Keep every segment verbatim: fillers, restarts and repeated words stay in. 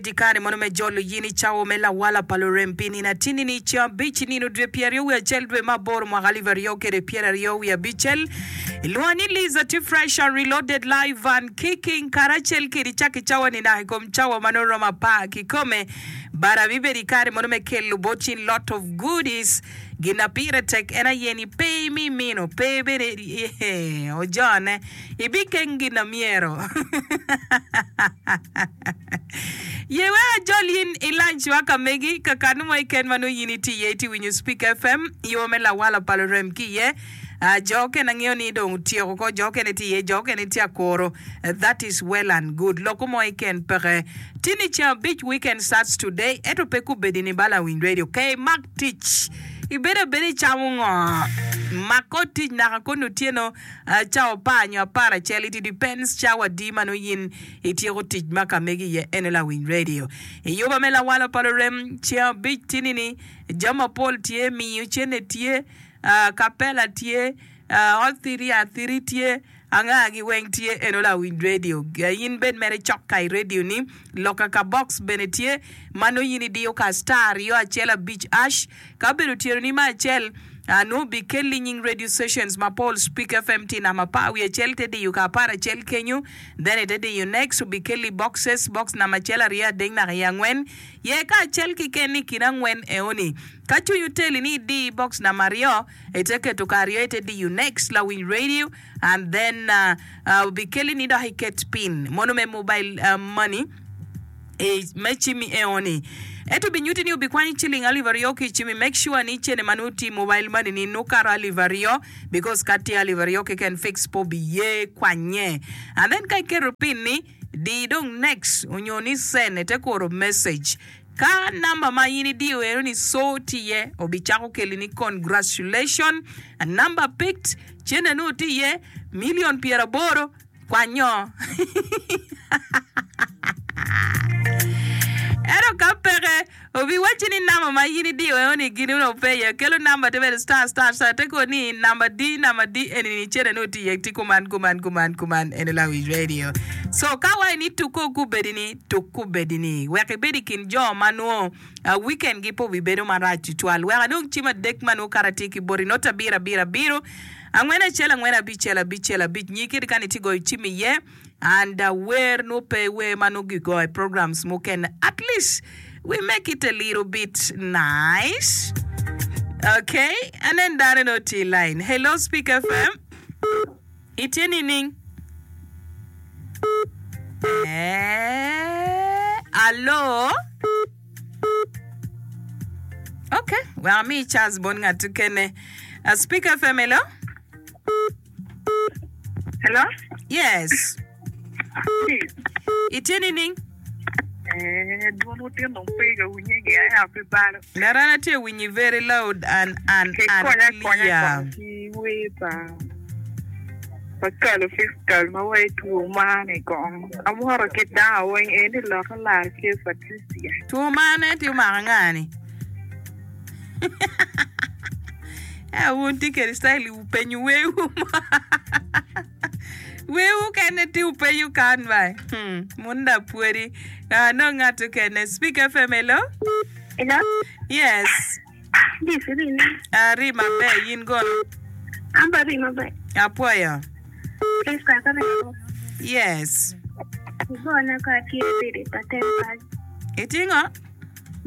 I kare mono me jolo yin i cawa me lawala pa lurem pi nino atini ni ceng abic nino dwe pyeraryo wiye acel dwe me aboro mwaka alip aryo kede pyeraryo wiye abicel ilwongo ni Liza tye fresh and reloaded live and kicking karacel kedi cak i cawa ni naka i kom cawa ma nongo romo apar kikome but abibedo i kare mono me kelo bot in lot of goodies gin na pire tek en aye ni pe imi mino pe bene ojone ibikeng gin na myero. Ye wek ajol in i lunch wa ka megi, ka kanu mo keken ma nongo in itye iye itye winyo Speak F M, yo me lawala pa lurem ki iye. Ah, jo okene angeyo ni dong otyeko ko, jo okene tye iye, jo okene tye akuro. That is well and good. Loko mo keken peke. Tini ceng abic, weekend starts today, ento pe kubedi ni bala winy radio. Ke imak tic. Ibedo abeda icamo ngo? Mak kor tic naka koni otyeno ah, cawa apar nyo apar acel. It depends cawa adi ma nongo in Ityeko tic ma ka megi iye ene lawiny radio. I yuba me lawalo pa lurem ceng abic tini ni jami mapol tye, miyo cene tye, kapela tye, hot thiri athiri tye, anga gi weng tye eno lawiny radio. In bed mere cok ka i radio ni loka ka box bene tye ma nongo in idiyo ka star aryo acel abic ash ka obedo otyeno ni me acel nongo obikelli nying radio stations mapol Speak F M tye namba apar wiye acel te diyo ka apar acel kenyo. Then ite diyo next obikelli boxes, box namba acel, aryo, adek naka i angwen. Ye ka acel kiken i kin angwen eoni. Ka cwiny oteli ni idi box namba aryo, ite keto ka aryo ite diyo next lawiny radio and then uh, uh, obikelli ni dok iket pin mono me mobile uh, money i me cimmi eoni. Ento obinyuti ni obikwanyo ciling alip aryo ki i cimmi. Make sure ni cene ma nongo tye i mobile money ni nongo kato alip aryo because ka tye alip aryo keken fix pe obiye kwanye. And then ka iketo pin ni di dong next onyo ni send ite kuro message. Ka namba ma in idiyo eno ni so tye iye obicako keli ni congratulation number picked cene nongo tye iye million pyeraboro Kwanyo. Ento ka peke, obiwacci ni namba ma in idiyo eno-ni gin onongo pe iye. Kelo namba te bedo star star star te kor ni namba di namba di eni-ni cene nongo tye iye tye kuman kuman kuman kuman eno lawic radio. So ka waci ni tuk ko kubedi ni tuk kubedi ni wek ibed i kin jo ma nongo weekend gi pe obibedo marac tutwal. Wek anong cim adek ma nongo kara tye ki boti not abiro abiro abiro Angwen acel angwen abicel abicel abic nyi kit kani itye goyo cim iye and wer nwo pe wer ma nongo gigoyo i programs mukene at least we make it a little bit nice okay anen dano nongo tye i line hello speak F M itye nining eh allo Ok, wek ami chance bot ngat mukene. Uh, Speak F M, hello? Hello? Yes. Itye nining? Eh, dwon otin dong pe ka winye gi aya pe balo. Larana tye winyi very loud and and Ki and konya konya clear. kong ki wer pa pa kalo fiscal ma wa itwo mani kong. Amwoto ki dano weng eni loka lar ke Patricia. Two mane tye omako anga ni? Ea wun tye kede style wupenyo wewu mo. Wewu kene tye wupenyo kan ba. Hmm, mun da pwodi. Ah, nong ngat okene. Speak F M, hello? Hello? Yes. This rini. Ari maber, yin gono? An be ari maber. Apwoyo. Please ka ka reko. Yes. Igona ka atye ready pa ten pal. Itye ngo?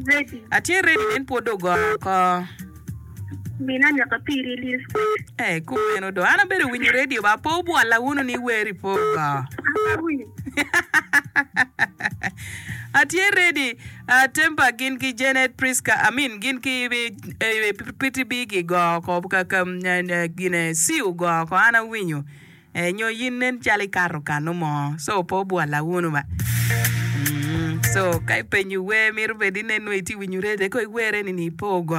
Ready. Atye ready nen pwod dong ogoro oko. Mina nyaka piri lil square. Eh, kumeno do. An abedo winyo radio ba pe obwola wunu ni weri pe ogo. An awinyo. Atye ready. Uh, Tempa gin ki Janet Priska, I mean gin ki eh, P T B gigo oko ka, ka, eh, gine C ogo oko an awinyo. Eh, nyo yin nen calo ikato kanu mo, so pe obwola wunu ba. Mm, so ka ipenyo wer mito bed inen nongo itye winyo radio ko iwere ni ni pe ogo.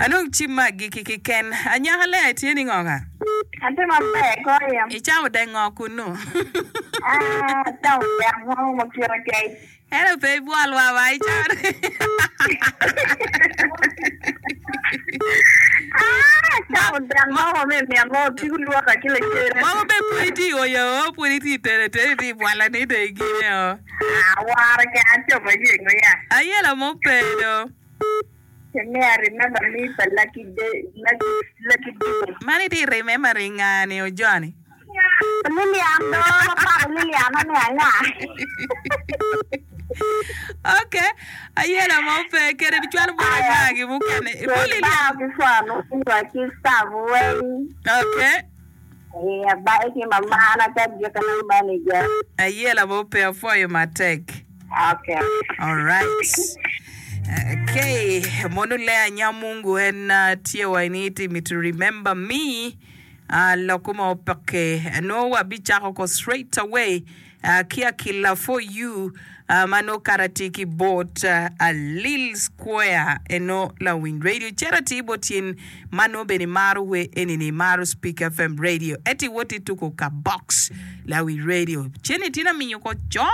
Anong cim ma agikki kiken. Anyaka Lea itye ni ngo ka? Atye maber goyo. Icamo dek ngo kunu? Ah, acamo dek mo ma kite kec. Ento pe ibwolwa ba icamo. Ah, Acamo dek mo me min mo tigo lwoka ki lacene. Mogo be pud itye oyo, pud itye tere tere itye bwala ni de gine o. Ah, wara ke acobo yengo ya. Ayela mo pedo. Me I remember me pa Lucky Day, Lucky, Lucky Dube. Man itye remember ngani o Johnny. Lilian do, mapako Lilian ane anga. Okay. Ayela mo pe kere bicwalo bwana ngagi mukene. Ibo Lilian. Ba ki fwano wa ki staff weng. Okay. Eh, abaye ki mamana ka jikana manager. Ayela mo pe afoyo matek. Okay. All right. Okay. Mono lea nyamungu en uh, tye wa ini me to remember me. Uh, loko mo peke. No wa bichako ko straight away. Uh, kia kila for you. Uh, mano karati ki bot uh, a Lil Square eno la Win Radio. Charity botin mano beni maro we enini maro Speak F M Radio. Eti woti tuko ka box la Win Radio. Cheni tina minyo ko chon.